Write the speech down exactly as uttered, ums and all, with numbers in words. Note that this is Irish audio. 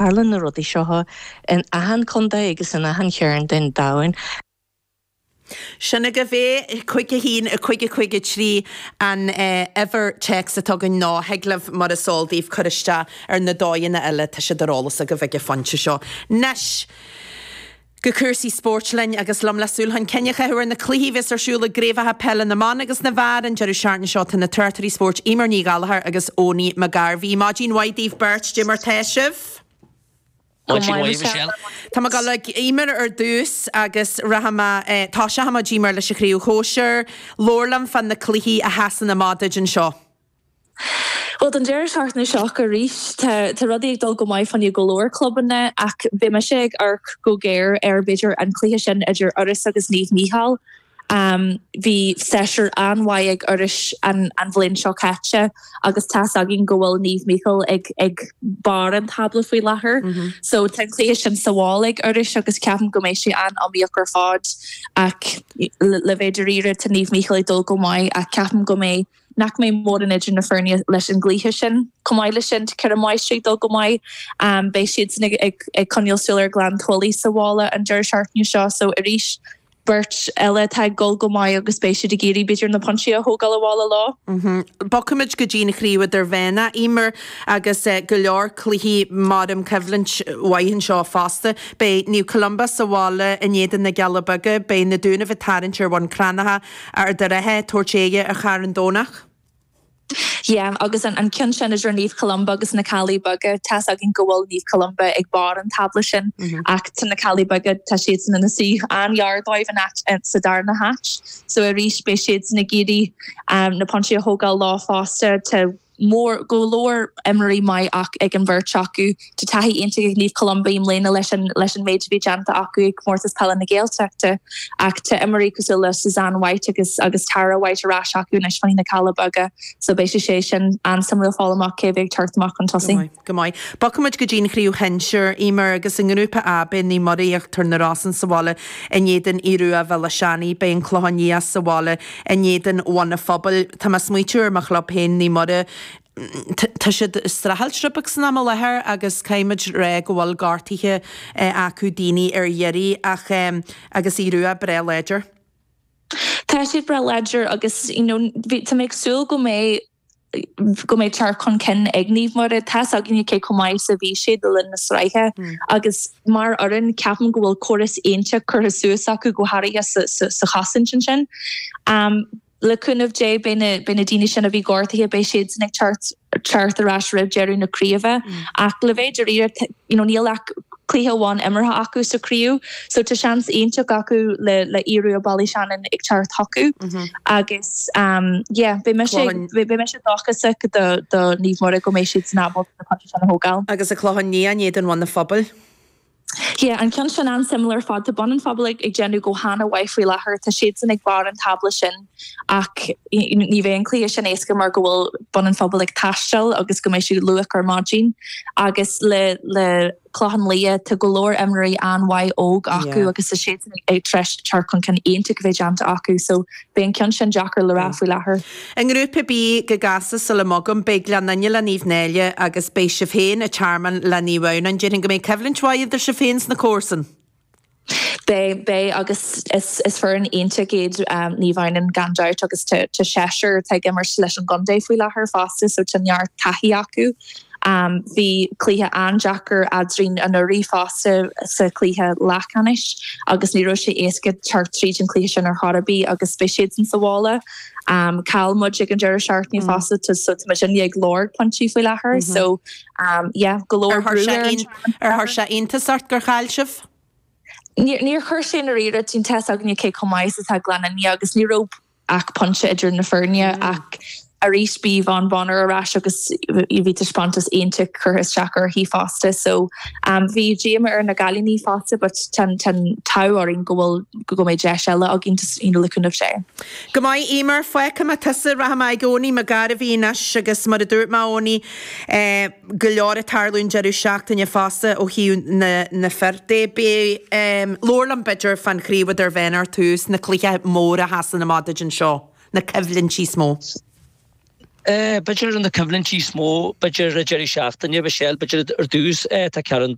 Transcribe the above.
Tarlaíonn na rudaí seo in achan contae agus in achan chearn den domhan. Sin agaibh é, cúig a haon, a cúig a cúig a trí an uimhir téacs atá againn nó thig libh mar is eol daoibh cur isteach ar na dóigheanna eile, tá siad ar eolas agaibh ag an phointe seo. Anois, go cúrsaí spóirt linn agus liom le súil chun cinn a chaitheamh ar na cluichí a bheas ar siúl i gcraobhacha peile na mban agus na bhfear an deireadh seachtaine seo tá na tráchtairí spóirt Eimear Ní Ghallchóir agus Owenie McGarvey. Maidin mhaith daoibh beirt, dé mar tá sibh? Maidin mhaith, Michelle. Tá mé ag dul ag Eimear ar dtús agus rachaidh mé, toiseochaidh muid Eimear leis an chraobh shóisir. Labhair liom fá na cluichí a sheasann amach duit anseo. Bhuel, don deireadh seachtaine seo arís, tá tá rudaí ag dul go maith fá choinne go leor clubanna ach beidh mise ag amharc go géar ar b'fhéidir an cluiche sin idir Iorras agus Naomh Mícheál. Bhí séasúr an-mhaith ag Iorras an an bhliain seo caite agus tá's againn go bhfuil Naomh Mícheál ag ag barr an tábla faoi láthair. So tá an cluiche sin sa bhaile ag Iorras agus ceapaim go mbeidh sé an-iomaíoch ar fad ach le bheith dáiríre tá Naomh Mícheál ag dul go maith ach ceapaim go mbeidh nach mbeidh mórán idir na foirne leis an gcluiche sin. Chomh maith leis sin, tá Cill Mháistrí ag dul go maith. Beidh siadsan ag ag ag coinneáil súil ar Ghleann tSúilí sa bhaile an deireadh seachtaine seo so arís beirt eile atá ag dul go maith agus beidh siad ag iarraidh b'fhéidir na pointí a thógáil abhaile leo. Bogfaimid go dtí an chraobh idirmheánach, Eimear, agus go leor cluichí maram coimhlint mhaith anseo fosta. Beidh Naomh Columba sa bhaile in éadan na gCealla Beaga, beidh na Dúnaibh ag tarraingt ar Bhun Cranncha, Ard an Rátha ag tabhairt aghaidhe ar Charn Domhnach. Yeah, agus an an ceann sin idir Naomh Columba agus na Cealla Beaga, tá's againn go bhfuil Naomh Columba ag barr an tábla sin ach tá na Cealla Beaga, tá siadsan ina suí an-ghar dóibh in áit sa darna háit. So arís beidh siadsan ag iarraidh um, na pointí a thógáil leo fosta. Tá mór go leor imreoirí maith ach ag an bheirt acu. Tá taithí iontach ag Naomh Columba i mbliana leis an leis an méid a bhí déanta acu ag comórtas peile na Gaeltachta ach tá imreoirí cosúil le Suzanne White agus agus Tara White ar ais acu anois fá choinne na Cealla Beaga so beidh sé sé sin an-suimiúil fáil amach cé bheidh ag teacht amach chun tosaigh. Go maith. Bogfaimid go dtí an chraobh shinsir, Eimear, agus i ngrúpa A beidh Naomh Muire Íochtar na Rosann sa bhaile in éadan Aodh Rua Bhéal Átha Seanaidh, beidh an Clochán Liath sa bhaile in éadan Bhun an Phobail. Tá mé ag smaoitiú ar mo chlub féin, Naomh Muire, tá siad ag streachailt rud beag san am i láthair agus caithfimid rá go bhfuil gortuithe acu daoine ar iarraidh ach agus Aodh Rua breá láidir. Tá siad breá láidir agus you know, tá mé ag súil go mbeidh go mbeidh teacht chun cinn ag Naomh Muire tá's againne cé chomh maith is a bhí siad le linn na sraithe agus mar fhoireann ceapaim go bhfuil córas iontach curtha suas acu go háirithe sa, sa, sa chosaint ansin. Um, le cúnamh Dé beidh na, beidh na daoine sin a bhí gortaithe beidh siad ag teacht teacht ar ais roimh deireadh na craoibhe ach le bheith dáiríre you know, níl ach cluiche amháin imeartha acu sa chraobh, so tá seans iontach acu le le Aodh Rua Ballyshannon ag teacht chucu agus um, yeah, beidh mise beidh mise dóchasach do do Naomh Muire go mbeidh siad san ábalta na pointí sin a thógáil. Agus an Clochán Liath in éadan Bhun an Phobail. Yeah, an ceann sin an-suimiúil ar fad tá Bun an Phobail ag ag déanamh go han-mhaith faoi láthair tá siadsan ag barr an tábla sin ach ní bheidh an cluiche sin éasca mar go bhfuil Bun an Phobail ag taisteal agus go mbeidh siad luath ar maidin agus le le Clochán Liath tá go leor imreoirí an-mhaith óg acu agus tá siadsan ag tar éis teacht chun cinn iontach a bheith déanta acu so beidh an ceann sin deacair le rá faoi láthair. I ngrúpa B go gasta sula mbogaim beidh Gleann Fhinne le Naomh Náille agus beidh sibh féin an Tearmann le Naomh Adhamhnáin. Déarfainn go mbeidh coimhlint mhaith idir sibh féin sna comharsain. Beidh beidh agus is is foireann iontach iad um, Naomh Adhamhnáin gan dabht agus tá tá seisear atá ag imirt leis an gcontae faoi láthair fosta so tá neart taithí acu. Um, bhí cluiche an-deacair eadrainn anuraidh fosta sa chluiche leathcheannais agus ní raibh sé éasca teacht tríd an cluiche sin ar chor ar bith agus beidh siadsan sa bhaile. Um, Chaill muid ag an deireadh seachtaine fosta so tá muid ag lorg pointí faoi láthair so um, yeah, go leor Ar chuir sé ar chuir sé iontas ort gur chaill sibh? Níor chuir sé na riire tín te againne cé chomh maith atá Gleann Fhinne agus ní raibh ach pointe idir na foirne ach arís bhí Yvonne Bonner ar ais agus bhí taispeántas iontach curtha isteach uirthi fosta so um, bhí díomá ar na cailíní fosta but tá an t-ádh orainn go bhfuil go mbeidh deis eile againn you know, le cúnamh Dé. Go maith Eimear fágfaidh mé tusa rachaidh mé ag Owenie McGarvey anois agus mar a dúirt mé Owenie eh, go leor ag tarlú an deireadh seachtaine fosta ó thaobh na, na fir de beidh um, labhair liom b'fhéidir fán chraobh idirmheánach ar tús na cluichí móra a sheasann amach duit anseo, na coimhlintí is mó. B'fhéidir na coimhlintí is mó b'fhéidir deireadh seachtaine Michelle b'fhéidir ar dtús tá Ceathrú